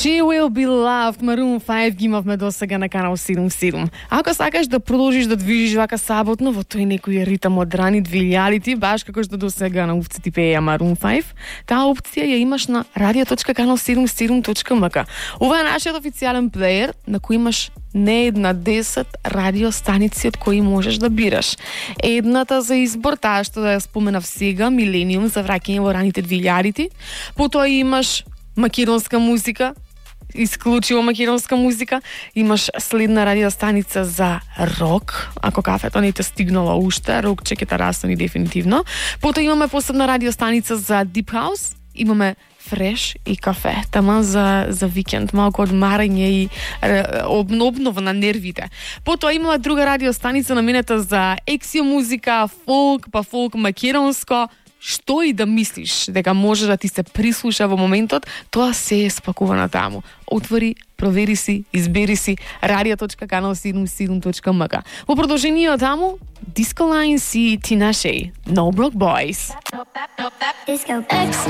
She Will Be Loved, Maroon 5 ги имавме досега на канал 77. Ако сакаш да продолжиш да движиш вака саботно во тој некој ритам од рани 2000-ти, баш како што досега на овците пеја Maroon 5, таа опција ја имаш на radio.canal77.mk. Ова е нашиот официјален плеер на кој имаш не една 10 радиостаници од кои можеш да бираш. Едната за избор, таа што да ја споменав сега, Милениум за враќање во раните 2000-ти. Потоа имаш македонска музика, исклучиво македонска музика. Имаш следна радиостаница за рок, ако кафето не те стигнало уште, рок чекета растани дефинитивно. Потоа имаме посебна радиостаница за Deep House, имаме фреш и кафе, тама за викенд, малку одмарање и обнова на нервите. Потоа имаме друга радиостаница наменета за ексио музика, фолк, па фолк македонско. Што и да мислиш дека може да ти се прислуша во моментот, тоа се е спакувано таму. Отвори, провери си, избери си radio.canal77.mk. Во продолжение таму, Disco Lines и Tinashe, No Broke Boys.